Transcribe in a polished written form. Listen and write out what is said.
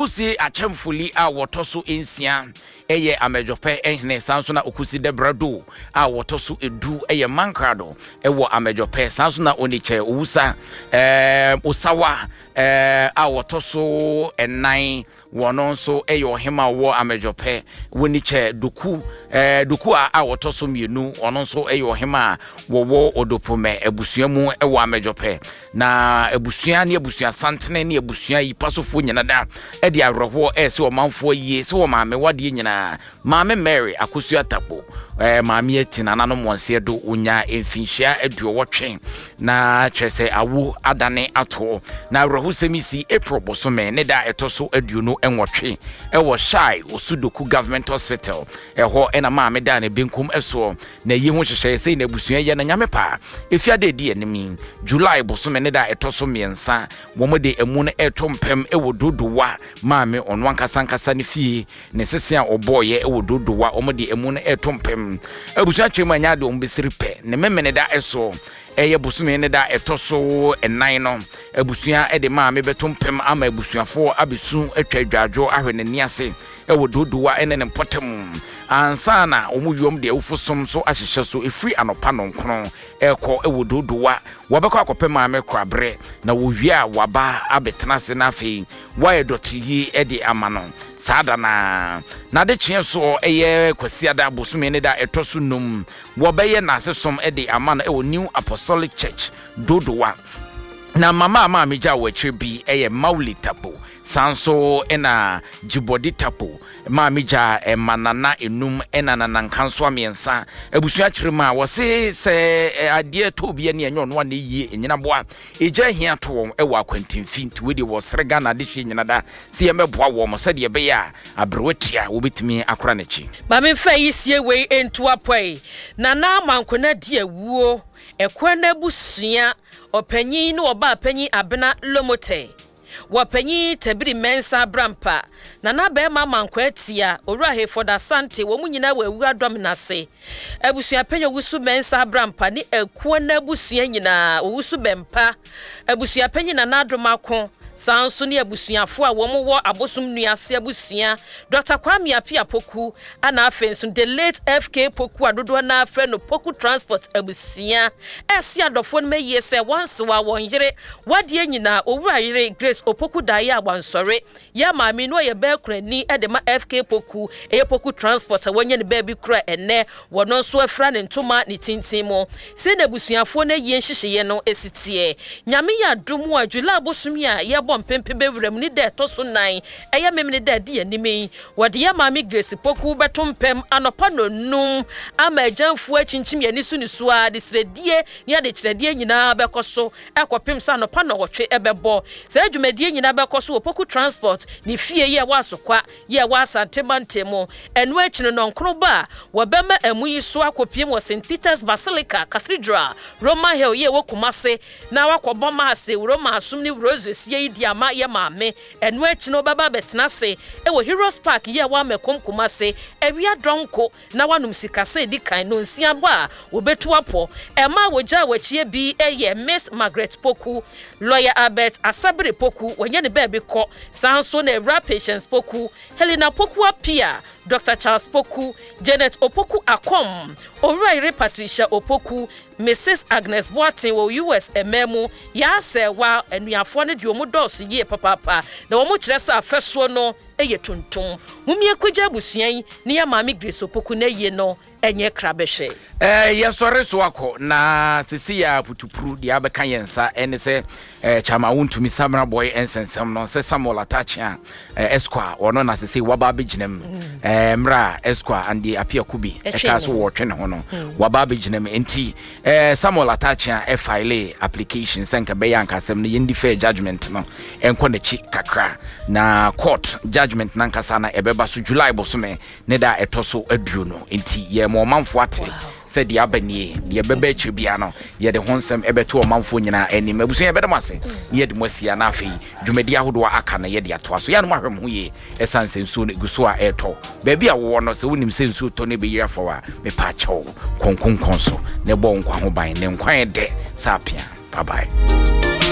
Okusi Akyɛmfoli a wɔtɔ so nsia yɛ Amɛdwɔpɛ hene, saa nso na Okusi Dɛbrado a wɔtɔ so edu yɛ Mankrado wɔ Amɛdwɔpɛ, saa nso na Onikyɛ Owusa eh, Osawa eh, a wɔtɔ so nnan wɔn nso yɛ ɔhema a ɔwɔ Amɛdwɔpɛ, Wonikyɛ Doku eh, Doku a a wɔtɔ so mmienu wɔn nso yɛ ɔhema a wɔwɔ Odopomɛ abusua mu wɔ Amɛdwɔpɛ. Na abusua ne abusua santene ne abusua yi pasofoɔ nyina da de awerɛhoɔ ɛrese ɔmanfoɔ yie sɛ wɔ maame wadeɛ nyinaa maame Mary Akosua Takpo eh, maame ati nananom wɔnseɛ do wonya mfinhyia aduɔwɔtwe na kyerɛ sɛ awo adane atoɔ na awerɛhosɛm yi si April bosome ne da ɛtɔ so 28 ɛwɔ Shai Osudoku Government Hospital ɛhɔ ɛna maame daa ne benkum ɛsoɔ Na eyi ho nhyehyɛe sei na abusua yɛ na Nyame pɛ a, efi ada edi anim yi, July bosome ne da a ɛtɔ so mmiɛnsa, wɔn de amu no reto mpam wɔ Dodowa maame ɔno ankasa ankasa ne fie, ne sese a ɔbɔeɛ wɔ Dodowa, wɔn de amu no reto mpam. Abusua kyerɛ mu a ɛnyɛ ade wɔn bɛsiri pɛ, ne Memeneda so, ɛyɛ bosome ne da a ɛtɔ so nnan no, abusua de maame bɛto mpam ama abusuafoɔ abɛsu atwa adwadwo ahwɛ n'ani ase. wɔ Dodowa ne ne mpɔtam ansa na wɔn wiom de awufo som nso ahyehyɛ so ɛfiri anɔpa nɔnkron rekɔ wɔ Dodowa. Wɔbɛkɔ akɔpɛ maame koraberɛ na wɔwie a wɔaba abɛtena ase na afei wɔayɛ dɔteyie de ama no saa da no ara. N'adekyeɛ soɔ ɛyɛ Kwasiada bosome ne da ɛtɔ so num wɔbɛyɛ n'asesom de ama no wɔ New Apostolic Church Dodowa. Na mama a maame gyaa wɔ akyire bi yɛ Mawuli Tabo. Saa nso na Djibɔdi Tapo maame gyaa mma nana enum na nana nkansoa mmiɛnsa. Abusua kyerɛ mu a, wɔse sɛ adeɛ tɔ obi ani a ɛnyɛ ɔno a na ɛyie nnyinaboa. Egya ahia to wɔn wɔ akwantemfi nti wei deɛ wɔsrɛ Ghana adehyeɛ nyina da sɛ yɛmmɛboa wɔn sɛdeɛ ɛbɛyɛ a aberewa tua wɔbɛtumi akora n'akyi. Ma memfa ayisie wei nto apɔe. Nana Amankona di awuo, Ɛkoa no abusua ɔpanyin ne ɔbaapanyin Abena Lomotey. Wɔ Panyin Tabiri Mensah Abrampa, Nana Barima Amankwah Atia, Owura Hayford Asante, wɔn nyinaa wɔ Awuah Dɔmena ase. Abusuapanyin Owusu Mensah Abrampa ne Akuo no abusua nyinaa, Owusu Bɛmpa, Abusuapanyin Nana Adom Ako, saa nso ne abusuafo a wɔn wɔ Abosom Nua ase abusua, Dɔkta Kwame Appiah Poku, Ɛna afei nso the late FK Poku a dodoɔ no ara frɛ no Poku Transport abusua ɛse adɔfoɔ no ma yie sɛ wɔnsewa wɔn yere wadeɛ nyinaa Owura yere Grace Opoku daeɛ a wansɔre yɛ maame no ɔyɛ bɛɛ kurani de ma FK Poku ɛyɛ Poku Transport a wanya ne baabi kura ɛnɛ wɔno nso afira ne ntoma ne tintin mu sei na abusuafoɔ no ayie nhyehyɛeɛ no ɛsi teɛ Nyame yɛ adom a July bosome a yɛbɔ mpempe bɛwura mu ne da ɛtɔ so nan ɛyɛ memene da adi anim yi Wɔde yɛn Maame Grace Poku bɛto mpam anɔpa nnɔnnum ama agyamfoɔ akyinkyim yɛn ani so nisuo ara, adesrɛdie ne adekyerɛdeɛ nyinaa bɛkɔ so kɔpem sɛ anɔpa nnɔwɔtwe bɛbɔ. Saa dwumadie nyinaa bɛkɔ so wɔ Poku Transport ne fie yi a ɛwɔ Asokwa yi a ɛwɔ Asante mantam mu. Ɛno akyi no nnɔnkron ba a wɔbɛma amu yi so akɔpiem wɔ St. Peter's Basilica Cathedral, Roma Hill yi a ɛwɔ Kumase na wakɔbɔ Maase, Roma asom ne Rosary sie yi de ama yɛn maame. Ɛno akyi no wobɛba abɛtena ase wɔ Heroes Park yi a ɛwɔ Amakom Kumase awia dɔnko na woanom sikasa a edi kan nnɔnsia bɔ a wobetu apɔ. Mmaa a wogyaa wɔn akyi bi yɛ Miss Margaret Poku, Lawyer Albert Asabere Poku, wanya ne baabi kɔ, saa nso na Awuraa Patience Poku, Helena Poku Appiah, Dɔkta Charles Poku, Janet Opoku Akom, Owurayere Patricia Opoku, Misis Agnes Boateng wɔ US mmaa mu, Yaa Sɛɛwa, anuafoɔ no deɛ wɔn dɔɔso yie papaapa na wɔn kyerɛ sɛ afɛsoɔ no yɛ tuntum. Momie kɔgya abusua yi ne yɛ maame Grace Opoku n'ayie no nyɛ krabɛhwɛ. Eh, yɛsɔre so akɔ na sesei a putupuru deɛ abɛka yɛn nsa ɛne sɛ eh, Kyama wontumi Samra Boy nsɛnsɛm no sɛ Samuel Atakyea eh, Esquire ɔno na sesei waba abɛgyina mu mm. eh, mmerɛ a Esquire Andy Appiah Kubi ɛka so wɔtwe ne ho no mm. waba abɛgyina mu nti eh, Samuel Atakyea ɛfile application sɛ nka bɛyɛ anka asɛm no yɛndi fair judgment no ɛnkɔ n'akyi kakra na court judgment nankasa na ɛbɛba so July bosome ne da a ɛtɔ so aduonu nti yɛma ɔmanfoɔ ate sɛ deɛ aba nie deɛ ɛbɛba akyire biara no yɛde ho nsɛm ɛbɛto ɔmanfoɔ nyinaa anim abusua yɛbɛda mo ase ne yɛde mo asia na afei dwumadi ahodoɔ aka no yɛde atoa so yɛanom ahwɛ mo ho yie ɛsiane sɛ nsuo no ɛgu so a ɛretɔ baabi a wowɔ no sɛ wonim sɛ nsuo tɔ no ɛbɛyiri afa wo a mepa akyɛw kɔnkonkɔn so na ɛbɔ wo nkwa ho ban ne nkwa yɛ dɛ sɛ apea bye bye.